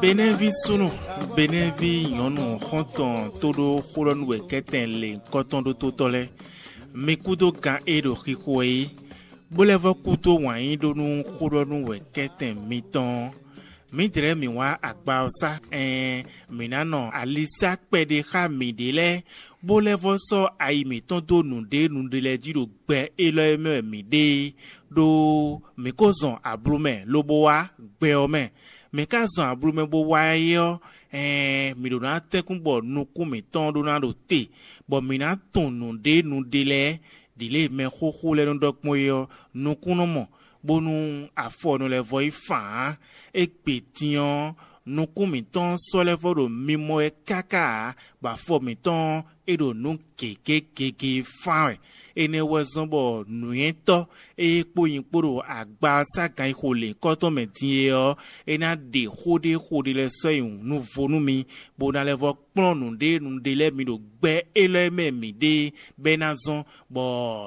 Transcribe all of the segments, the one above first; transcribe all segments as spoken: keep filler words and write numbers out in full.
Benɛ́ví súnnu, Benɛ́ví nyɔ̌nu xɔ́ntɔn tó ɖó xó ɖɔ nú wɛ kɛ́tɛn lěhunkɔtɔn ɖótó tɔn lɛ́ɛ, mi kúdó gan e ɖo xixo wɛ é, bó lɛ́ vɔ́ kúdó wǎn yí ɖó nú xó ɖɔ nú wɛ kɛ́tɛn mitɔn ɔ́. Mǐdɛɛ mǐ wá agba ɔ́ sá, ɛɛn, mǐ ná nɔ ali sá kpɛɖé xá mǐɖée lɛ́ɛ, bó lɛ́ vɔ́ sɔ́ ayi mǐtɔn dó nǔɖé nǔɖé lɛ́ɛ jí ɖo gbɛ élɔ́ e mɛ wɛ mǐ ɖe é, ɖó mǐ ko zɔn ablu mɛ lobo wá gbɛ ɔ́ mɛ. Mǐ ka zɔn ablu mɛ bó wá é ɔ́, ɛɛn, mǐ ɖó ná tɛ́nkún bɔ nukún mǐtɔn ɖó ná ɖo te, bɔ mǐ ná tunwun nǔɖé nǔɖé lɛ́ɛ, ɖǐ lě e mɛxóxó lɛ́ɛ nɔ ɖɔ gbɔn é ɔ́, nukún nɔ mɔ, bónú afɔ nɔ lɛ́ vɔ yi fǎn ǎ. Égbé din ɔ́, nukún mǐtɔn sɔ́ lɛ́ vɔ ɖo mimɔ wɛ káká ǎ, bɔ afɔ mǐtɔn ɔ́, é ɖo nǔ gěgé gěgé fán wɛ. Énɛ́ wɛ zɔ́n bɔ nǔnywɛ́tɔ́ e kpó nyi kpó ɖo agba ɔ́ sá ganxixo lěhunkɔtɔn mɛ din é ɔ́, é ná ɖe xó ɖé xó ɖé lɛ́ɛ sɔ́ nyi nǔvo nú mi, bó ná lɛ́ vɔ́ kplɔ́n nǔɖé nǔɖé lɛ́ɛ mi ɖo gbɛ élɔ́ e mɛ mǐ ɖe é, bɔ é ná zɔ́n bɔ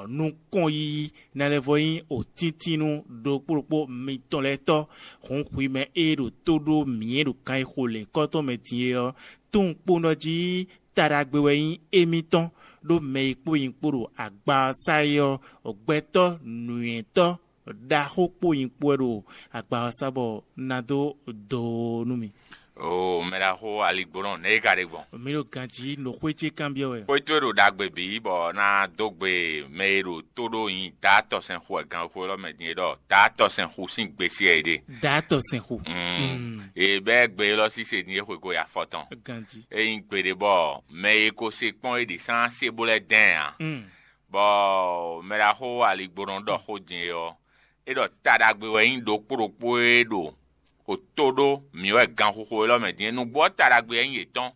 nukɔn yíyí ná lɛ́ vɔ nyí òtíntínnú ɖokpó ɖokpó mitɔn lɛ́ɛ tɔ́. Hǔn hwi mɛ e ɖo tó ɖó mǐ e ɖo ganxixo lěhunkɔtɔn mɛ din é ɔ́, tunwun kpowun ɖɔ jí taɖagbe wɛ nyí émítɔn, ɖó mɛ e kpó nyi kpó ɖo agba ɔ́ sá é ɔ́, gbɛtɔ́ nǔnywɛ́tɔ́ ɖaxó kpó nyi kpó wɛ ɖo agba ɔ́ sá bɔ ná dó do nú mi. Oo, mɛ ɖaxó aligbɔnɔ nɛ̌ é ka ɖe gbɔn? Mi ɖo ganjí nɔ xwé ce kanbyɔ́ wɛ. Xwé towe ɖo ɖagbe bǐ bɔ ná dó gbe mɛ e ɖo tó ɖó nyi Daatɔsɛnxu wɛ ganxixo élɔ́ mɛ din é ɖɔ Daatɔsɛnxu sín gbe sí wɛ é ɖe. Daatɔsɛnxu. Mm. È bɛ́ gbe élɔ́ síse din é xwe ko yi afɔ tɔn. Ganjí. É nyí gbeɖé bɔ mɛ e ko se kpɔ́n é ɖě sán se bó lɛ́ dɛn ǎ. Mm. Bɔ mɛ ɖaxó aligbɔnɔ ɖɔ xó din é ɔ́, é ɖɔ ta ɖagbe wɛ nyí ɖokpó ɖokpó e ɖo xo tó ɖó mǐ wɛ ganxixo élɔ́ mɛ din é. Nǔgbó ɔ́ ta ɖagbe wɛ nyí yětɔn.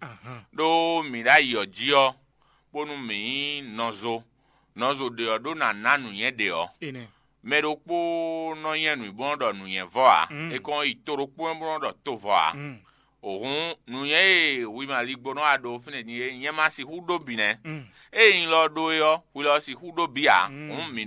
Ɖó mǐ ɖo ayǐ ɔ́ jí ɔ́, bónú mǐ nyí nɔzo. Nɔzo ɖě ɔ́ ɖó ná ná nǔnywɛ́ ɖě ɔ́. Mɛ ɖokpó nɔ nyɛ nǔ bó nɔ ɖɔ nǔnywɛ́ vɔ ǎ. Mm. É kɔn yi to ɖokpó mɛ bó nɔ ɖɔ to vɔ ǎ. Mm. Hǔn nǔnywɛ́ e hwi ma ligbó nɔ wa ɖó fínɛ́ din é, nyɛ ma sixú ɖó bǐ nɛ́. Mm. Ée nyí lɔ ɖó é ɔ́, hwi lɔ sixú ɖó bǐ ǎ. Mm. Hǔn mǐ